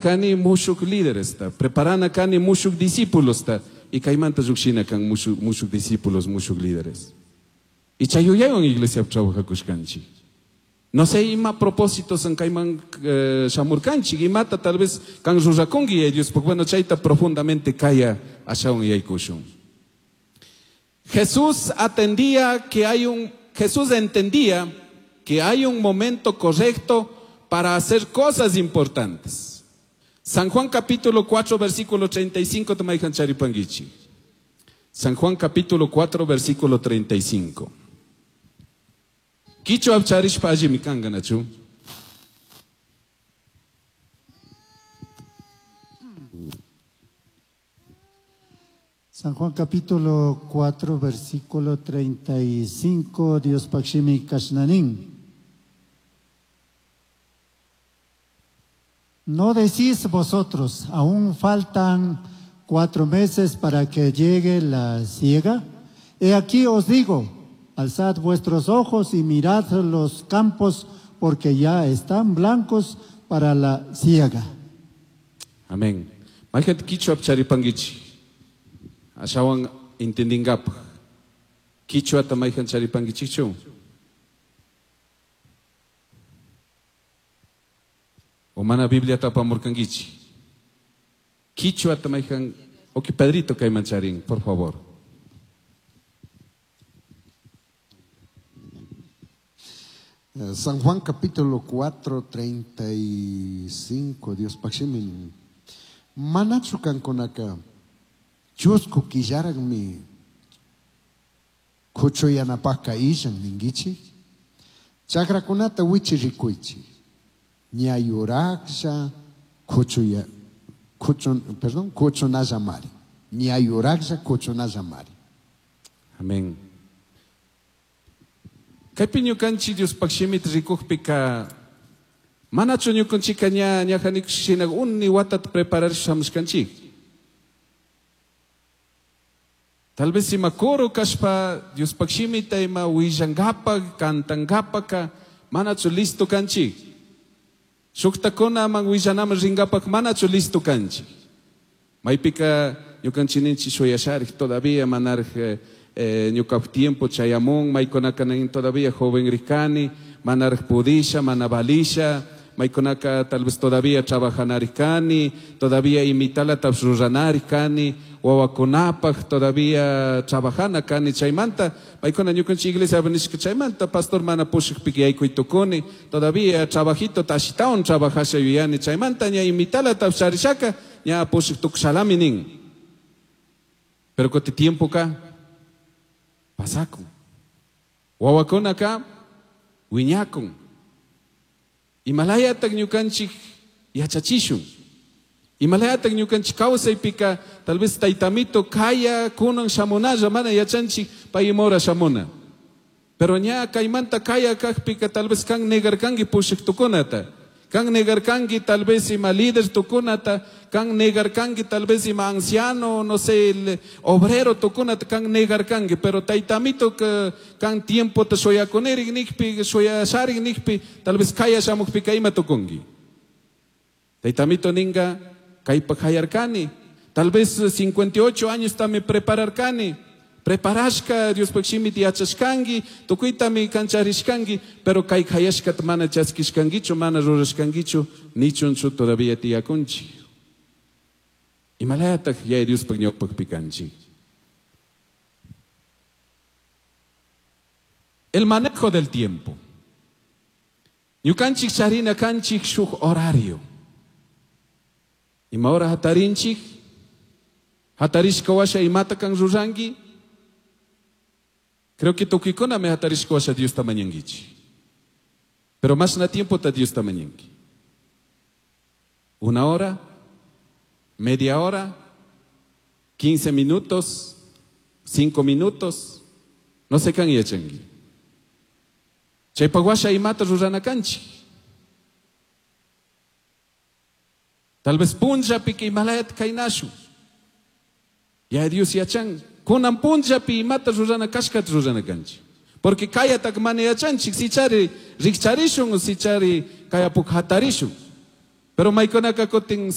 Kani mushuk líderesta, preparana kani mushuk discípulosta, y kaymanta llukshina kan mushuk discípulos, mushuk líderes. Y chay yuyaywan iglesia trabajakushkanchik. No sé ima propósitos en kayman shamurkanchik, imata tal vez kan rurakunki y Dios, bueno, chayta profundamente kaya ashawan yaykushun. Jesús atendía que hay un, Jesús entendía que hay un momento correcto para hacer cosas importantes. San Juan capítulo 4, versículo 35, tomayhan charipanguichi. San Juan capítulo 4, versículo 35. Kichwa charishpa allimi kanka, nachu. San Juan capítulo 4, versículo 35, Dios Pakshimi Kashnanin. No decís vosotros, aún faltan 4 meses para que llegue la siega. He aquí os digo, alzad vuestros ojos y mirad los campos, porque ya están blancos para la siega. Amén. Mayhan kichwa charipanguichi. Ashawan entendingapaj. Kichwata mayhan charipanguichichu. O mana Biblia tapamurkanguichi. Kichwata mayhan, ok, Pedrito kayman charin, por favor. San Juan capítulo 4, 35, Dios paximin. Manachu kankunaka, chusku killaraqmi kuchuyanapaqqa illan ninkichik. Chakrakunata wichi rikuychik. Ña yuraqlla kuchuya, kuchun, perdón, kuchunallamari. Ña yuraqlla kuchunallamari. Amén. Kaypi ñukanchik Diospaq shimita rikukpika, manachu ñukanchikka ña ñajanikushina uni watata prepararishpa shamushkanchik. Tal vez ima coro kashpa Diospaq shimita ima willankapak, kantankapaka, manachu listo kanchik. Shuktakunaman willanaman rinkapak manachu listo kanchik. Maypika ñukanchik ninchik shuyasharik todavía manaraj ñukap tiempo chayamun, maykunaka nin todavía joven rikani, manaraj pudisha, mana valisha, maykunaka tal vez todavía trabajanarij kani, todavía imitalata ruranarij kani, wawakunapaj todavía trabajana kani chaymanta, maykuna ñukanchik iglesia nishka chaymanta, pastor mana pushakpika yaykuy tukuni, todavía trabajito tashitawan trabajasha yuyani chaymanta, ña imitalata charishaka, ña pushak tukushalami nin. Pero kuti tiempo ka pasakun. Wawakunaka wiñakun. Imalayatak ñukanchik yachachishun. Imalayatak ñukanchik kawsaypika tal vez taytamito kaya kunan shamunalla mana yachanchik pay imora shamuna. Pero ña kaymanta kaya kajpika tal vez kan negarkanki pushak tukunata. Kan negarkanki tal vez ima líder tukunata, kan negarkanki tal vez ima anciano, no sé, el obrero tukunata, kan negarkanki, pero taytamito que kan tiempo te shoyakunerik nikpi, shoyasharik nikpi, tal vez kaya shamukpika ima tukunki. Taytamito ninga kaypa hayarkani, tal vez 58 años tami prepararkani. Preparashka Diospaq shimita yachashkanki, tukuytami kancharishkanki, pero kay hayashkata mana chaskishkankichu, mana rurashkankichu, nichunchu todavía tiyakunchik. Imalayataq Yaya Diospaq ñawpaqpi kanchik. El manejo del tiempo. Ñukanchik charina kanchik shuk horario. Ima hora hatarinchik? Hatarishka washa imata kan ruranki? Creo que tukuykuna me hatarishka washa Diosta mañankichik. Pero más na tiempo ta Diosta mañanki. Una hora, media hora, 15 minutos, 5 minutos, no sé kan yachanki. Chaypaq washa imata rurana kanchik. Tal vez punllapi imalayata kaynashun. Ya Dios yachan. Kunan punllapi imata rurana kashkata rurana kanchik. Porque kayatak mana yachanchik, si chari rikcharishun, si chari kayapuk hatarishun. Pero maikunaka kutin.